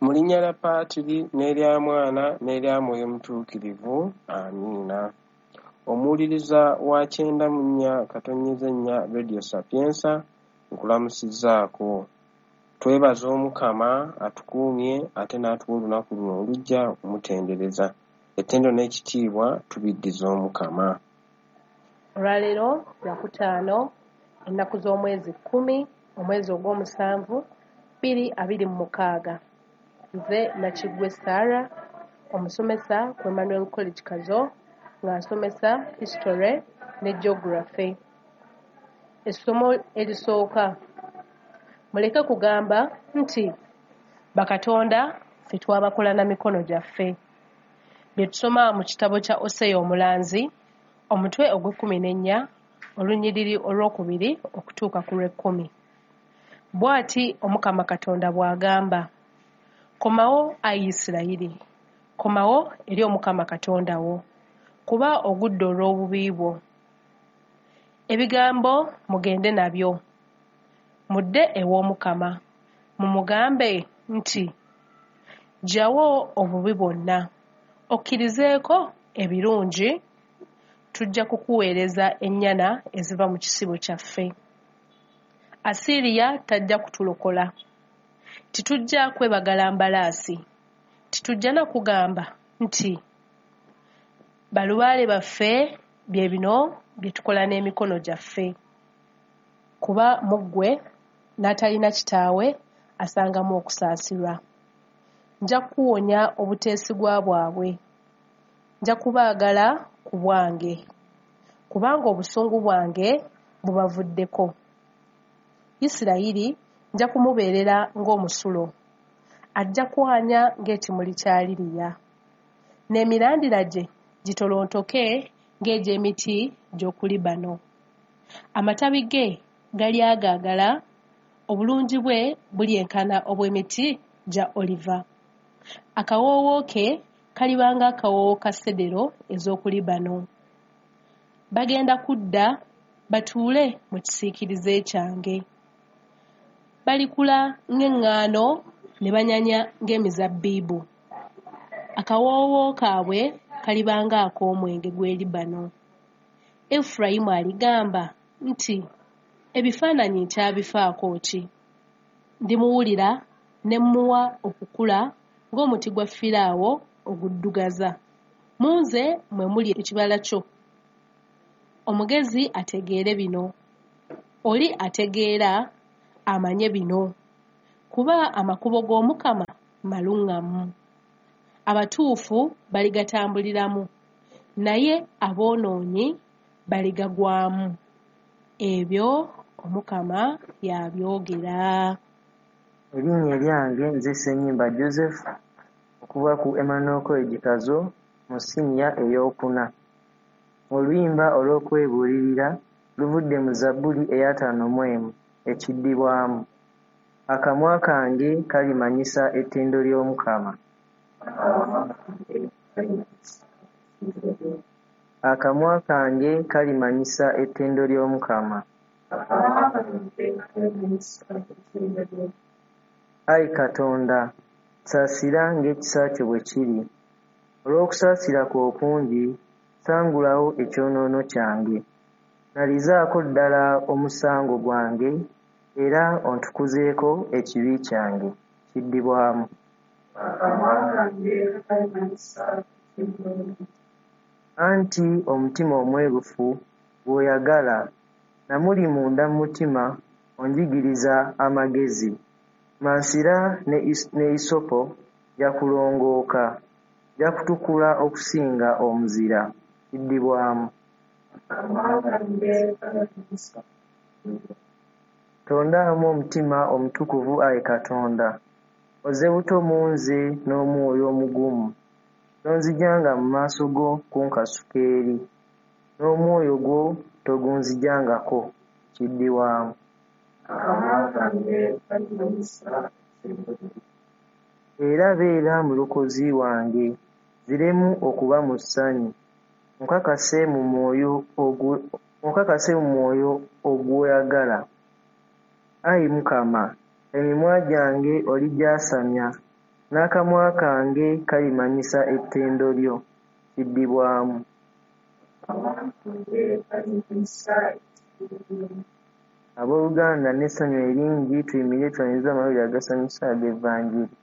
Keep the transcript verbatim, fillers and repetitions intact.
Mu linnya lya Paatiri n'erya Mwana n'erya Mwoyo Mutuukirivu, amiina. Omuwuliriza wa kyenda mu nnya katonnyeze nnya Radio Sapienza, nkulamusizzaako. Twebaza Omukama atukuumye ate n'atuwa olunaku luno olujja okumutendereza. Ettendo n'ekitiibwa tubiddiza Omukama. Olwaleero Lwakutaano, ennaku z'omwezi kkumi, omwezi ogw'omusanvu, bbiri abiri mu mukaaga. Nze Nakiggwe Sarah, omusomesa ku Emmanuel College Kazo, nga nsomesa History ne Geography. Essomo erisooka, muleke kugamba nti bakatonda ffe twabakola na mikono gyaffe. Bye tusoma mu kitabo kya Oseya Omulanzi, omutwe ogw'ekkumi n'ennya, olunyiriri olwokubiri okutuuka ku lw'ekkumi. Bw'ati Omukama Katonda bw'agamba, komawo ayi Isirayiri, komawo eri Omukama Katonda wo, kuba ogudde olw'obubi bwo. Ebigambo mugende nabyo, mudde ew'Omukama, mumugambe nti ggyawo obubi bwonna, okkirizeeko ebirungi, tujja kukuweereza ennyana eziva mu kisibo kyaffe. Asiriya tajja kutulokola. Titujja kwebagala mbalaasi, titujja na kugamba nti balubaale baffe bye bino bye tukola n'emikono gyaffe. Kuba mu ggwe n'atalina kitaawe asangamu okusaasirwa. Nja kukuwonya obuteesigwa bwabwe, nja kubaagala ku bwange, kubanga obusungu bwange bubavuddeko. Isirayiri nja kumubeerera ng'omusulo, ajja kwanya ng'ekimuli kya liriya, n'emirandira gye gitolontoke ng'egy'emiti gy'oku Libano. Amatabi ge galyagaagala, obulungi bwe bulyenkana obw'emiti gya oliva. Akawoowo ke kaliba ng'akawoowo ka sedero ez'oku Libano. Bagenda kudda batuule mu kisiikirize kyange. Balikula ng'eŋŋaano ne banyanya ng'emizabbibu. Akawoowo kaabwe kaliba ng'ak'omwenge gw'e Libano. Efulayimu aligamba nti ebifaananyi nkyabifaako ki? Ndimuwulira ne mmuwa okukula ng'omuti gwa Firaawo oguddugaza. Mu nze mwe muli ekibala kyo. Omugezi ategeere bino, oli ategeera amanye bino, kuba amakubo g'Omukama maluŋŋamu. Abatuufu baligatambuliramu, naye aboonoonyi baligagwamu. Ebyo Omukama y'abyogera. Erinnya eryange nze Ssenyimba Joseph okuva ku Emmanuel College Kazo mu siniya ey'okuna. Oluyimba olw'okwebuulirira luvudde mu Zabbuli ey'ataano mu emu ekiddibwamu. Akamwa kange kalimanyisa ettendo ly'Omukama. Akamwa kange kalimanyisa ettendo ly'Omukama. Ayi Katonda, saasira ng'ekisa kyo bwe kiri. Olw'okusaasira kwo okungi, sangulawo ekyonoono kyange. Nalizaako ddala omusango gwange era ontukuzeeko ekibi kyange. Kiddibwamu. Anti omutima omwerufu gw'oyagala, namuli munda mu mutima onjigiriza amagezi. Mansira ne isopo nja kulongooka, nja kutukula okusinga omuzira. Kiddibwamu. Tondaamu omutima omutukuvu ayi Katonda, ozze buto mu nze n'omwoyo omugumu. Tonzigyanga mu maaso go kunkasuka eri, n'omwoyo gwo togunzigyangako. Kiddibwamu. Era beera mulokozi wange, nziremu okuba mu ssanyu, onkakase mu mwoyo ogw'oyagala. Ayi Mukama, emimwa gyange oligyasamya, N'akamwa kange kalimanyisa ettendo lyo. Kiddibwamu. Abooluganda n'essanyu eringi tuyimirire twanirize amawulire agasanyusa ag'Evanjiri.